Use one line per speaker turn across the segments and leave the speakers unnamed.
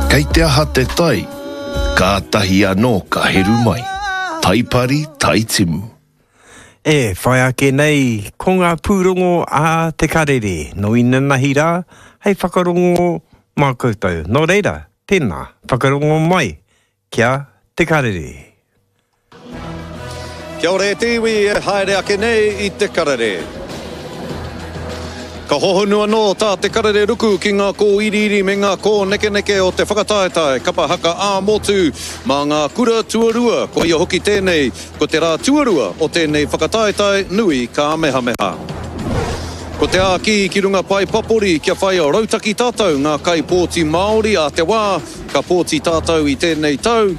Kei te aha te tai? Kātahi anō ka heru mai. Tai pari, tai timu.
E whai ake nei ko ngā pūrongo a Te Karere nō inanahi rā hei whakarongo mā koutou. Nō reira, tēnā, whakarongo mai ki a Te Karere.
Kia ora e te iwi e haere ake nei i Te Karere. Ka hohonu anō tā Te Karere ruku ki ngā kōiriiri me ngā kōnekeneke o te whakataetae kapa haka ā-motu mā ngā kura tuarua, koia hoki tēnei ko te rā tuarua o tēnei whakataetae nui kāmehameha. Ko te āki ki runga pae papori kia whai rautaki tātou ngā kaipōti Māori ā te wā ka pōti tātou i tēnei tau,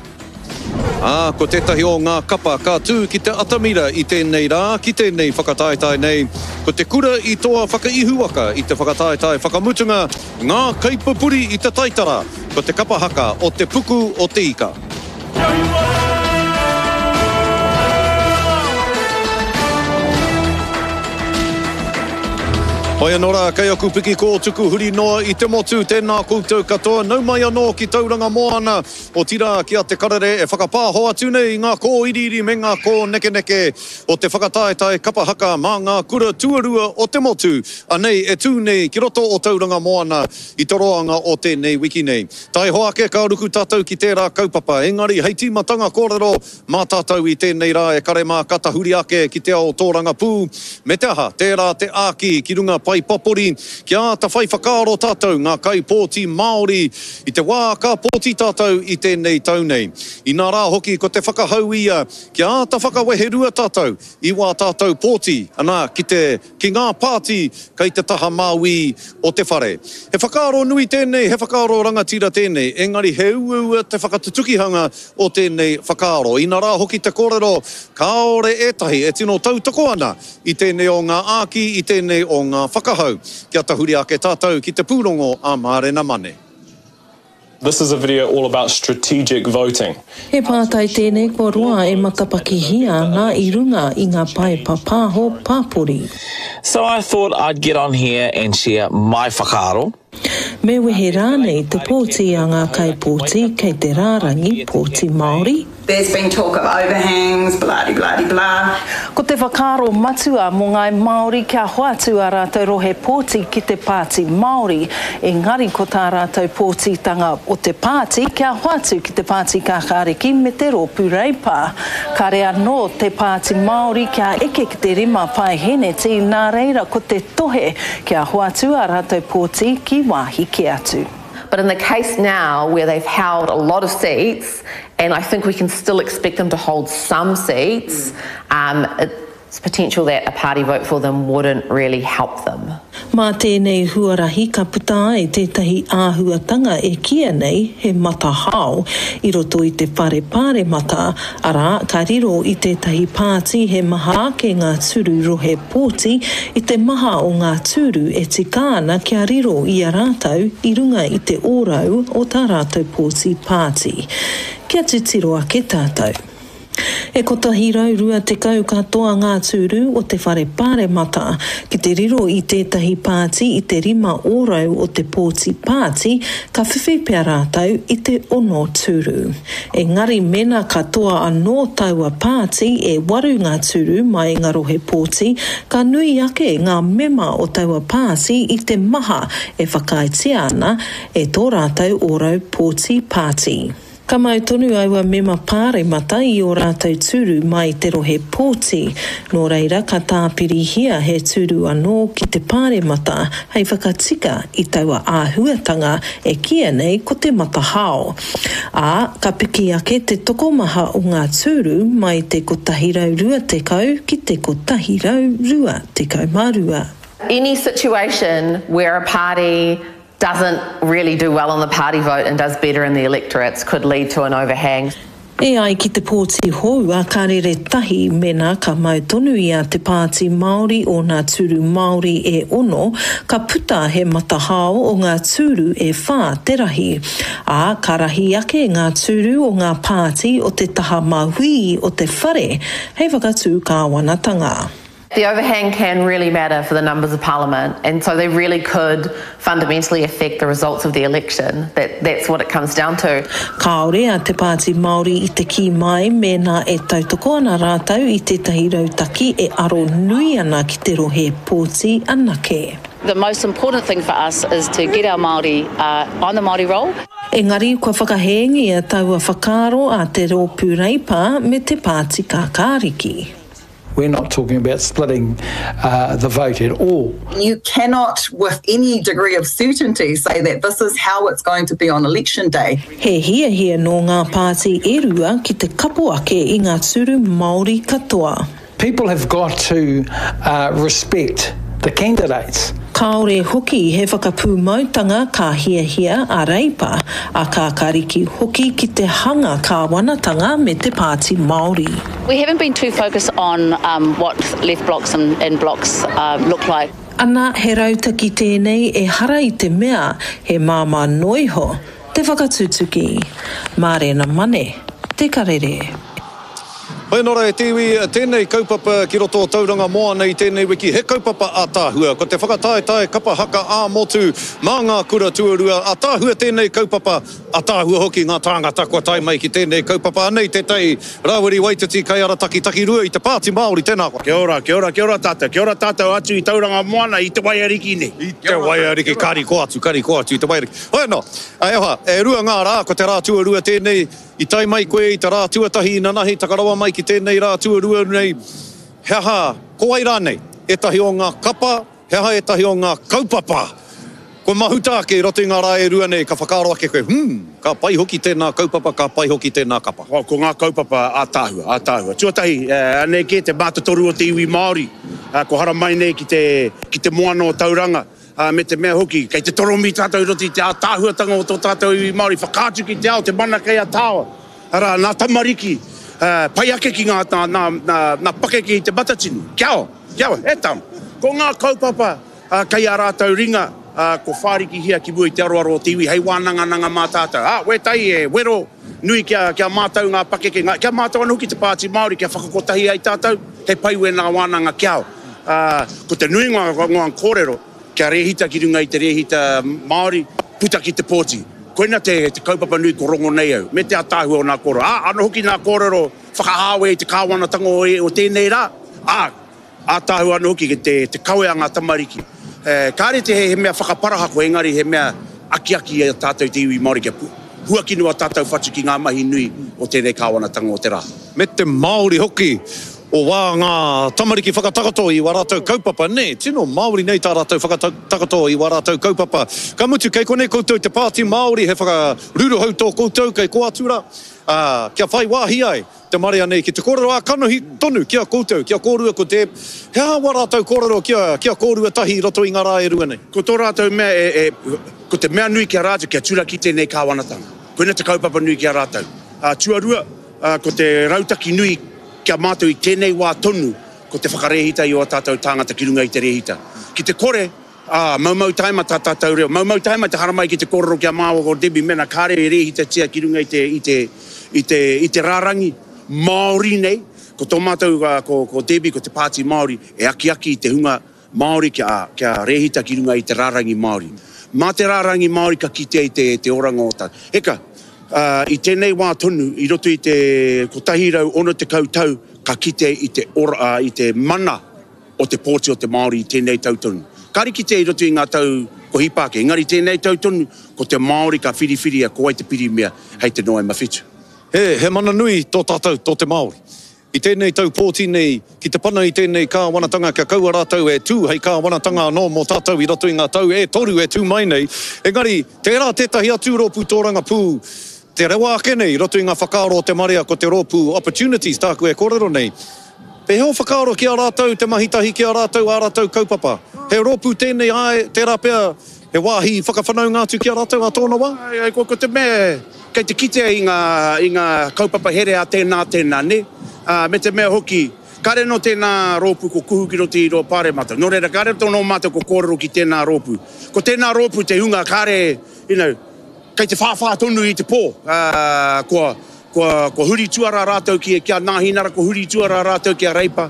Ā, ko tētahi o ngā kapa ka tū ki te atamira i tēnei rā, ki tēnei whakataetae nei, ko te kura i toa whakaihuwaka i te whakataetae whakamutunga, ngā kaipupuri i te taitara, ko te kapa haka o Te Puku o Te Ika. Hoi anō rā, kei aku piki kōtuku huri noa i te motu, tēnā koutou katoa, nau mai anō ki Tauranga Moana, Otirā, ki a Te Karere e whakapāho atu nei i ngā kōiriiri me ngā kōnekeneke o te whakataetae kapa haka mā ngā kura tuarua o te motu, anei e tū nei ki roto o Tauranga Moana i te roanga o tēnei wiki nei. Taihoa ake ka ruku tātou ki tērā kaupapa, engari hei tīmatanga kōrero Mā tātou i tēnei rā e kare mā ka tahuri ake ki te ao tōrangapū, me te aha, tērā te āki ki runga pae papori kia āta whai whakaaro tātou ngā kaipōti Māori i te wā ka pōti tātou i tēnei tau nei. Inā rā hoki ko te whakahau ia kia āta whakaweherua tātou i wā tātou pōti, ana, ki te ki ngā pāti kei te taha māuī o te whare. He whakaaro nui tēnei, he whakaaro rangatira tēnei, engari he uaua te whakatutukihanga o tēnei whakaaro. Inarā hoki te kōrero, kāore ētahi e tino tautoko ana i tēnei o ngā āki, i tēnei o ngā whakahau. Kia tahuri ake tātou ki te pūrongo a Mārena Mane.
This is a video all about strategic voting.
He pātai tēnei kua roa e matapakihia ana i runga i ngā pae papāho pāpori.
So I thought I'd get on here and share my whakaaro.
Me wehe rānei te pōti a ngā kaipōti kei te rārangi pōti Māori?
There's been talk of overhangs, blah-de blah-de blah.
Ko te whakaaro matua mō ngāi Māori kia hoatu ā rātou rohe pōti ki te Pāti Māori, engari ko tā rātou pōtitanga o te pāti kia hoatu ki te Pāti Kākāriki me te Rōpū Reipa. Kare anō te Pāti Māori kia eke ki te 5 paeheneti, nā reira ko te tohe kia hoatu ā rātou pōti ki wāhi kē atu.
But in the case now where they've held a lot of seats, and I think we can still expect them to hold some seats, um, it's potential that a party vote for them wouldn't really help them.
Mā tēnei huarahi ka puta ai tētahi āhuatanga e kīia nei he matahao i roto i te whare pāremata, arā, ka riro i tētahi pāti he maha ake ngā tūru rohe pōti i te maha o ngā tūru e tika ana kia riro i a rātou i runga i te ōrau o tā rātou pōti pāti. Kia titiro ake tātou. E 120 katoa ngā tūru o te Whare Pāremata. Ki te riro i tētahi pāti i te 5% o te pōti pāti, ka whiwhi pea rātou i te ono tūru. Engari mēnā ka toa anō taua pāti e waru ngā tūru mai i ngā rohe pōti, ka nui ake ngā mema o taua pāti i te maha e whakaaetia ana e tō rātou ōrau pōti pāti. Ka mau tonu aua mema pāremata i ō rātou tūru mai i te rohe pōti, nō reira ka tāpirihia he tūru anō ki te pāremata hei whakatika i taua āhuatanga e kīia nei ko te matahao. Ā, ka piki ake te tokomaha o ngā tūru mai i te 120 ki te 122.
Any situation where a party doesn't really do well on the party vote and does better in the electorates could lead to an overhang.
E ai ki te pōti hou a Ka Rere Tahi mēnā ka mau tonu i a Te Pāti Māori ōna tūru Māori e ono, ka puta he matahao o ngā tūru e whā te rahi. Ā, ka rahi ake ngā tūru o ngā pāti o te taha mauī o te whare hei whakatū kāwanatanga.
The overhang can really matter for the numbers of parliament and so they really could fundamentally affect the results of the election. That, that's what it comes down to.
Kāore a Te Pāti Māori i te kī mai mēnā e tautoko ana rātou i tētahi rautaki e aro nui ana ki te rohe pōti anake.
The most important thing for us is to get our Māori on the Māori roll.
Engari kua whakahēngia taua whakaaro a te Rōpū Reipa me te Pāti Kākāriki.
We're not talking about splitting uh, the vote at all.
You cannot, with any degree of certainty, say that this is how it's going to be on election day.
He hiahia nō ngā pāti e rua ki te kapo ake i ngā tūru Māori katoa.
People have got to uh, respect the candidates.
Kāore hoki he whakapūmautanga ka hiahia a Reipa, a Kākāriki hoki ki te hanga kāwanatanga me te Pāti Māori.
We haven't been too focused on um, what left blocks and, and blocks uh, look like.
Ana, he rautaki tēnei ehara i te mea he māmā noa iho te whakatutuki. Mārena Mane, Te Karere.
Hoi anō rā e te iwi, tēnei kaupapa ki roto o Tauranga Moana i tēnei wiki, he kaupapa ātaahua. Ko te whakataetae kapa haka ā-motu mā ngā kura tuarua, ātaahua tēnei kaupapa, ātaahua hoki ngā tāngata kua tae mai ki tēnei kaupapa. Anei tētahi Rāwiri Waititi kaiarataki takirua i te Pāti Māori, tēnā koe.
Kia ora, kia ora, kia ora tātou, kia ora tātou atu i Tauranga Moana i te Waiariki nei.
I te Waiariki, ka riko atu, ka riko atu i te Waiariki. Hoi anō, e hoa, e rua ngā rā, ko te rā tuarua tēnei, I tae mai koe i te rā tuatahi inanahi, taka rawa mai ki tēnei rā tuarua nei, he aha, ko wai rānei ētahi o ngā kapa, he aha ētahi o ngā kaupapa kua mahuta ake i roto i ngā rā e rua nei ka whakaaro ake koe, hmm, ka pai hoki tēnā kaupapa, ka pai hoki tēnā kapa.
Ko ngā kaupapa ātaahua, ātaahua. Tuatahi, anei kē te mātotoru o te iwi Māori, kua haramai nei ki te, ki te moana o Tauranga, Ā, me te mea hoki, kei te toromi tātou i roto i te ātaahuatanga o tō tātou iwi Māori, whakaatu ki te ao te mana kei a Tāoa, arā, nā tamariki, ā, pai ake ki ngā, nā, nā, nā, nā pakeke i Te Matatini. Kia ora, kia ora, e tama. Ko ngā kaupapa, ā, kei ā rātou ringa, ā, ko whārikihia ki mua i te aroaro o te iwi hei wānangananga mā tātou. Ā, wētahi e wero nui kia, kia mātau ngā pakeke, ngā, kia mātau anō hoki te Pāti Māori kia whakakotahi ai tātou, he pai wēnā wānanga kia ora. Ā, ko te nuinga o ngā kōrero, kia rēhita ki runga i te rēhita Māori, puta ki te pōti. Koina te, te kaupapa nui ko rongo nei au, me te ataahua o nā kōrero. Ā, anō hoki nā kōrero whakahāwe i te kāwanatanga o, o tēnei rā, ā, ātaahua anō hoki te, te kawe a ngā tamariki. E, kāre te he mea whakaparahako, engari he mea akiaki i a tātou te iwi Māori kia huakino a tātou whatu ki ngā mahi nui o tēnei kāwanatanga o te rā.
Me te Māori hoki O wā ngā tamariki whakatakoto i wā rātou kaupapa, nē, tino Māori nei tā rātou whakatakoto i wā rātou kaupapa. Ka mutu, kei konei koutou te Pāti Māori, he whakaruruhau tō koutou, kei kō atu rā, ā, kia whai wāhi ai te marea nei ki te kōrero ā-kanohi tonu ki a koutou, ki a kōrua ko Deb, he aha wā rātou kōrero ki a, ki a kōrua tahi i roto i ngā rā e rua nei?
Ko tō rātou mea e, e, ko te mea nui ki a rātou kia turaki tēnei kāwanatanga. Koina te kaupapa nui ki a rātou. Ā, tuarua, ā, ko te rautaki nui Ki a mātou i tēnei wā tonu, ko te whakarēhita i ō tātou tāngata ki runga i te rēhita. Ki te kore, ā, maumau taima tā tātou reo, maumau taima te haramai ki te kōrero ki a māua ko Debbie mēnā kāre e rēhitatia ki runga i te, i te, i te, i te rārangi Māori nei. Ko tō mātou, ā, ko, ko Debbie, ko te Pāti Māori e akiaki i te hunga Māori kia, kia rēhita ki runga i te rārangi Māori. Mā te rārangi Māori ka kitea i te, te oranga o tā. Eka, ā, i tēnei wā tonu, i roto i te 160 tau, ka kitea i te ora, ā, i te mana o te pōti o te Māori i tēnei tau tonu. Kāre kitea i roto i ngā tau kua hipa ake, engari i tēnei tau tonu, ko te Māori ka whiriwhiria ko wai te pirimia hei te Noema 7.
He, he mana nui tō tātou, tō te Māori. I tēnei tau pōti nei, ki te pana i tēnei kāwanatanga kia kaua rātou e tū hei kāwanatanga anō mō tātou i roto i ngā tau e toru e tū mai nei. Engari, tērā tētahi atu rōpū tōrangapū te rewa ake nei i roto i ngā whakaaro o te marea ko te rōpū Opportunities tāku e kōrero nei. Pēhea ō whakaaro ki a rātou, te mahi tahi ki a rātou, ā rātou kaupapa? He rōpū tēnei, āe, tērā pea he wāhi whakawhanaunga atu ki a rātou ā tōna wā?
Āe, ko te mea Kei te kitea i ngā, i ngā kaupapa here a tēnā, tēnā, nē? Ā, me te mea hoki, kāre anō tēnā rōpū ko kuhu ki roto i rō pāremata. Nō reira, kāre anō mātou ko kōrero ki tēnā rōpū. Ko tēnā rōpū te hunga kāre, you know, kei te whāwhā tonu i te pō. Ā, kua, kua, kua huri tuarā rātou ki, ki a Nāhinara, kua huri tuarā rātou ki a Reipa.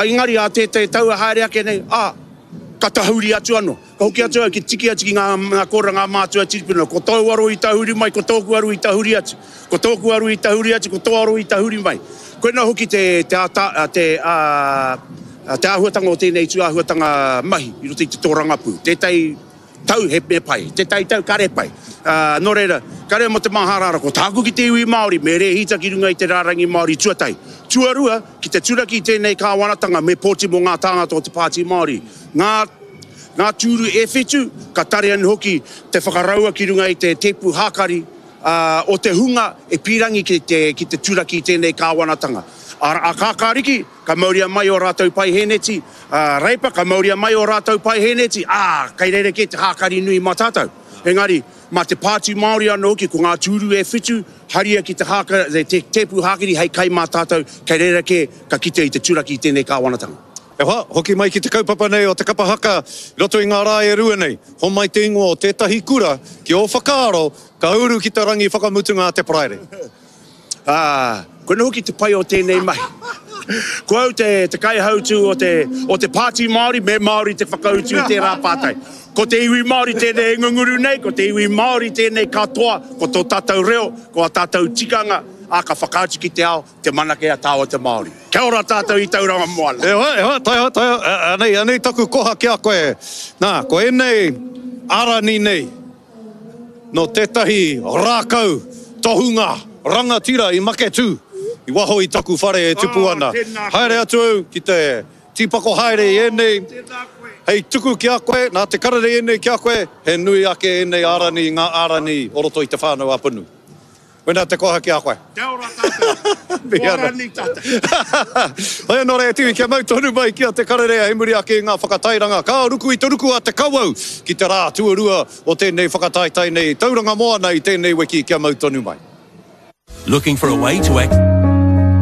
Engari ā tētahi tau e haere ake nei, ā, ka tahuri atu anō. Ka hoki atu au ki tiki atu ki ngā, ngā kōrero ngā mātua tīpuna, ko tōu aro i tahuri mai, ko tōku aro i tahuri atu. Ko tōku aro i tahuri atu, ko tō aro i tahuri mai. Koinā hoki te, te āta, te, ā, te āhuatanga o tēnei tūāhuatanga mahi i roto i te tōrangapū. Tētahi tau he me pai, tētahi tau kare pai. Ā, nō reira, kare mō te māharahara, ko tāku ki te iwi Māori, me rēhita ki runga i te rārangi Māori tuatahi. Tuarua, ki te turaki i tēnei kāwanatanga me pōti mō ngā tāngata o te Pāti Māori. Ngā, ngā tūru e whitu, ka tare anō hoki te whakaraua ki runga i te tēpu hākari, ā, o te hunga e pīrangi ki te, ki te turaki i tēnei kāwanatanga. Ā, a Kākāriki, ka mauria mai ō rātou paihēneti, ā, Reipa, ka mauria mai ō rātou paihēneti, ā, kei rerekē te hākari nui mā tātou. Engari, mā te Pāti Māori anō hoki, ko ngā tūru e whitu, haria ki te hāka, te tēpu hākari hei kai mā tātou, kei rerekē ka kite i te turaki i tēnei kāwanatanga.
E hoa, hoki mai ki te kaupapa nei o te kapa haka i roto i ngā rā e rua nei. Homai te ingoa o tētahi kura ki ō whakaaro ka uru ki te rangi whakamutunga a te Paraire.
Ā, koinā hoki te pai o tēnei mahi. Ko au te, te kaihautū o te, o te Pāti Māori, me Māori te whakautu i tērā pātai. Ko te iwi Māori tēnei e ngunguru nei, ko te iwi Māori tēnei katoa, ko tō tātou reo, ko ā tātou tikanga, ā, ka whakaatu ki te ao, Te mana kei a tāua te Māori. Kia ora tātou i Tauranga Moana.
E hoa, e hoa, tae, tae, anei, anei taku koha ki a koe. Nā, ko ēnei arani nei, nō tētahi rākau tohunga rangatira i Maketū, i waho i taku whare e tupu ana. Haere atu au ki te tīpako haere i ēnei, hei tuku ki a koe, nā te karere ēnei ki a koe, he nui ake ēnei arani i ngā arani o roto i Te Whānau a Apanui. Wena te koha ki a koe.
Kia ora tātou. Kua rani tātou.
Hoi anō rā e Tiwi, kia mau tonu mai ki a Te Karere hei muri ake i ngā whakatairanga. Ka ruku i te ruku a Te Kawau ki te rā tuarua o tēnei whakataetae nei Tauranga Moana i tēnei wiki kia mau tonu mai.
Looking for a way to.